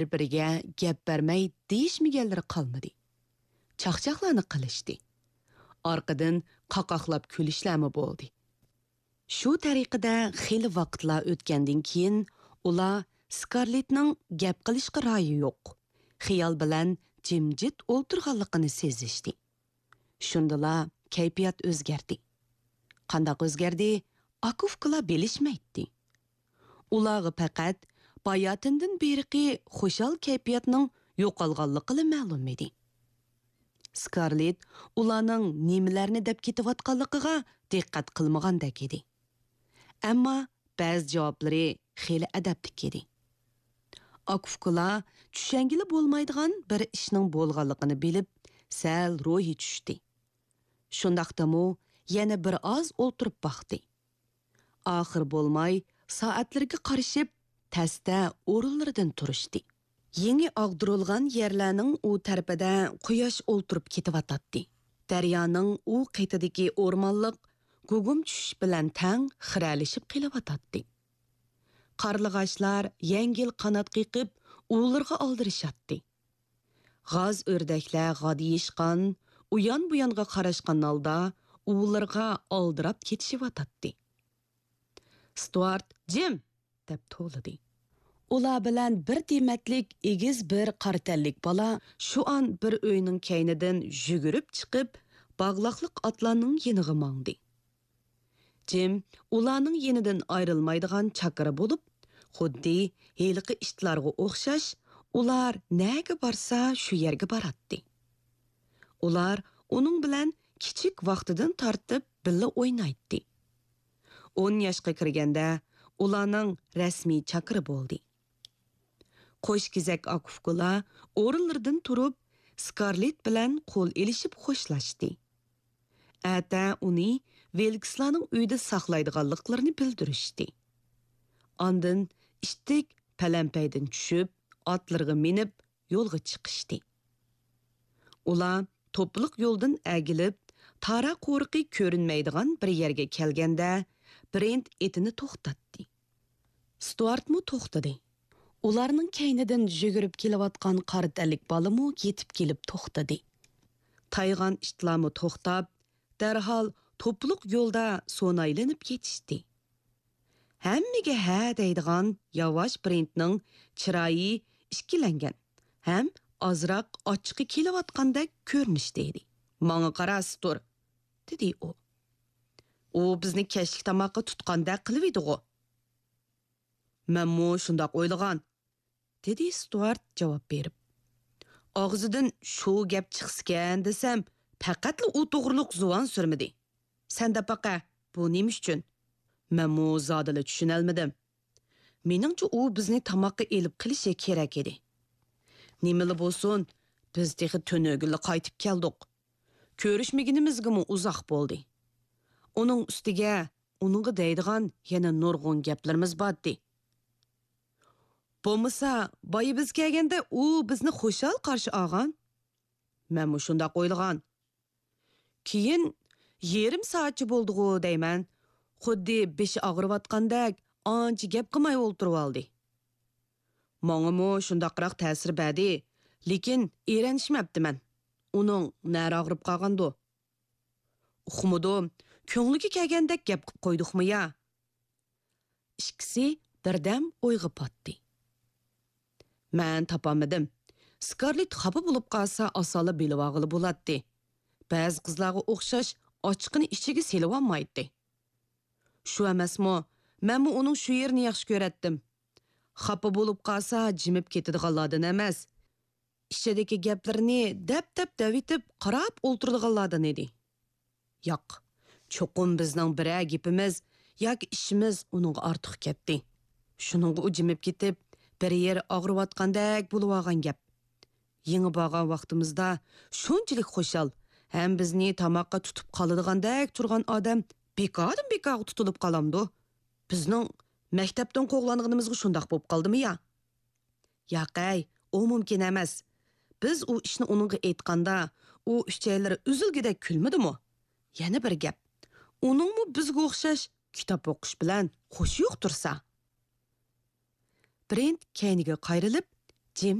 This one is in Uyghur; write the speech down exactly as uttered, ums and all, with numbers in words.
بىر-بىرىگە گەپ بەرمەي دېيىشمىگەنلىرى قالمىدى. چاقچاقلارنى قىلىشتى. ئارقىدىن قاقاقلاپ كۈلۈشلەرمۇ بولدى. شۇ تەرىقىدە خېلى ۋاقىتلار ئۆتكەندىن كېيىن، ئۇلار سكارلېتنىڭ گەپ قىلىشقا رايى يوق، خىيال بىلەن جىمجىت ئولتۇرغانلىقىنى سېزىشتى. شۇندىلا كەيپىيات ئۆزگەردى. قانداق ئۆزگەردى؟ ئاكا-ئۇكىلار بىلىشمەيتتى. ئۇلارغا پەقەت باياتىندىن بېرىقى خۇشال كەيپىياتنىڭ يوقالغانلىقىلا مەلۇم ئىدى. سكارلېت ئۇلارنىڭ نېمىلەرنى دەپ كېتىۋاتقانلىقىغا دىققەت قىلمىغاندەك ئىدى. ئەمما بەزى جاۋابلىرى خېلى ئەدەپلىك ئىدى. ئاكا-ئۇكىلار چۈشەنگىلى بولمايدىغان بىر ئىشنىڭ بولغانلىقىنى بىلىپ، سەل روھى چۈشتى. شۇنداقتىمۇ يەنە بىر ئاز ئولتۇرۇپ باقتى. ئاخىر بولماي سائەتلىرىگە قارىشىپ، تەستە ئورۇنلىرىدىن تۇرۇشتى. يېڭى ئاغدۇرۇلغان يەرلەرنىڭ ئۇ تەرىپىدە قۇياش ئولتۇرۇپ كېتىۋاتاتتى. دەريانىڭ ئۇ قېتىدىكى ئورمانلىق گۇگۇم چۈشۈش بىلەن تەڭ خىرەلىشىپ قېلىۋاتاتتى. قارلىغاچلار يەڭگىل قانات قېقىپ، ئۇۋىلىرىغا ئالدىرىشاتتى. غاز ئۆردەكلەر غادىيىشقان، ئۇيان-بۇيانغا قاراشقان ھالدا ئۇۋىلىرىغا ئالدىراپ كېتىشىۋاتاتتى. ستۇئارت، جىم! دەپ توۋلىدى. ئۇلار بىلەن بىر دېمەتلىك ئېگىز بىر قارا تەنلىك بالا شۇ ئان بىر ئۆينىڭ كەينىدىن يۈگۈرۈپ چىقىپ، باغلاقلىق ئاتلارنىڭ يېنىغا ماڭدى. جىم ئۇلارنىڭ يېنىدىن ئايرىلمايدىغان چاكىرا بولۇپ، خۇددى ھېلىقى ئىتلارغا ئوخشاش، ئۇلار نەگە بارسا، شۇ يەرگە باراتتى. ئۇلار ئۇنىڭ بىلەن كىچىك ۋاقتىدىن تارتىپ بىللە ئوينايتتى. ئون ياشقا كىرگەندە ئۇلارنىڭ رەسمىي چاكىرى بولدى. قوش كېزەك ئاكا-ئۇكىلار ئورۇنلىرىدىن تۇرۇپ، سكارلېت بىلەن قول ئېلىشىپ خوشلاشتى. ئەتە ئۇنى ۋىلكسلارنىڭ ئۆيىدە ساقلايدىغانلىقلىرىنى بىلدۈرۈشتى. ئاندىن ئىتتىك پەلەمپەيدىن چۈشۈپ، ئاتلىرىغا مىنىپ، يولغا چىقىشتى. ئۇلار توپىلىق يولدىن ئەگىلىپ، تارا قورۇقى كۆرۈنمەيدىغان بىر يەرگە كەلگەندە، برېنت ئېتىنى توختاتتى. ستۇئارتمۇ توختىدى. ئۇلارنىڭ كەينىدىن يۈگۈرۈپ كېلىۋاتقان قارا تەنلىك بالىمۇ يېتىپ كېلىپ توختىدى. تايغان ئىتلارمۇ توختاپ، دەرھال توپىلىق يولدا سونايلىنىپ يېتىشتى. ھەممىگە ھە دەيدىغان ياۋاش برېنتنىڭ چىرايى ئىككىلەنگەن ھەم ئازراق ئاچچىقى كېلىۋاتقاندەك كۆرۈنۈشتە ئىدى. ماڭا قارا، ستۇر، دېدى ئۇ. ئۇ بىزنى كەچلىك تاماققا تۇتقاندەك قىلىۋىدىغۇ. مەنمۇ شۇنداق ئويلىغان، دېدى ستۇئارت جاۋاب بېرىپ. ئاغزىدىن شۇ گەپ چىقسىكەن دېسەم، پەقەتلا ئۇ توغرۇلۇق زۇۋان سۈرمىدى. سەن دەپ باقە، بۇ نېمە ئۈچۈن؟ مەنمۇ زادىلا چۈشىنەلمىدىم. مېنىڭچە ئۇ بىزنى تاماققا ئېلىپ قېلىشى كېرەك ئىدى. نېمىلا بولسۇن، بىز تېخى تۈنۈگۈنلا قايتىپ كەلدۇق. كۆرۈشمىگىنىمىزگىمۇ ئۇزاق بولدى. ئۇنىڭ ئۈستىگە ئۇنىڭغا دەيدىغان يەنە نۇرغۇن گەپلىرىمىز بارتتى. بولمىسا، بايا بىز كەلگەندە ئۇ بىزنى خۇشال قارشى ئالغان. مەنمۇ شۇنداق ئويلىغان. كېيىن يېرىم سائەتچە بولدىغۇ دەيمەن، خۇددى بېشى ئاغرىۋاتقاندەك ئانچە گەپ قىلماي ئولتۇرۇۋالدى. ماڭىمۇ شۇنداقراق تەسىر بەردى، لېكىن ئېرەنشمەپتىمەن. ئۇنىڭ نەرە ئاغرىپ قالغاندۇ؟ ئۇقمىدىم، كۆڭلىگە كەلگەندەك گەپ قىپ قويدۇقمۇ يا؟ ئىككىسى بىردەم ئويغا پاتتى. مەن تاپالمىدىم. سكارلېت خاپا بولۇپ قالسا، ئاسانلا بىلىۋالغىلى بولاتتى. بەزى قىزلارغا ئوخشاش ئاچچىقىنى ئىچىگە سېلىۋالمايتتى. شۇ ئەمەسمۇ، مەنمۇ ئۇنىڭ شۇ يېرىنى ياخشى كۆرەتتىم. خاپا بولۇپ قالسا، جىمىپ كېتىدىغانلاردىن ئەمەس. ئىچىدىكى گەپلىرىنى دەپ-دەپ دەۋېتىپ، قاراپ ئولتۇرىدىغانلاردىن ئىدى. ياق، چوقۇم بىزنىڭ بىرەر گېپىمىز ياكى ئىشىمىز ئۇنىڭغا ئارتۇق كەتتى. شۇنىڭغا ئۇ جىمىپ كېتىپ، بىر يېرى ئاغرىۋاتقاندەك بولۇۋالغان گەپ. يېڭى بارغان ۋاقتىمىزدا شۇنچىلىك خۇشال ھەم بىزنى تاماققا تۇتۇپ قالىدىغاندەك تۇرغان ئادەم بىكاردىن بىكارغا تۇتۇلۇپ قالامدۇ؟ بىزنىڭ مەكتەپتىن قوغلانغىنىمىزغا شۇنداق بولۇپ قالدىمۇ يا؟ ياقەي، ئۇ مۇمكىن ئەمەس. بىز ئۇ ئىشنى ئۇنىڭغا ئېيتقاندا، ئۇ ئۈچەيلىرى ئۈزۈلگۈدەك كۈلمىدىمۇ؟ يەنە بىر گەپ، ئۇنىڭمۇ بىزگە ئوخشاش كىتاب ئوقۇش بىلەن خۇشى يوق تۇرسا. برېنت كەينىگە قايرىلىپ،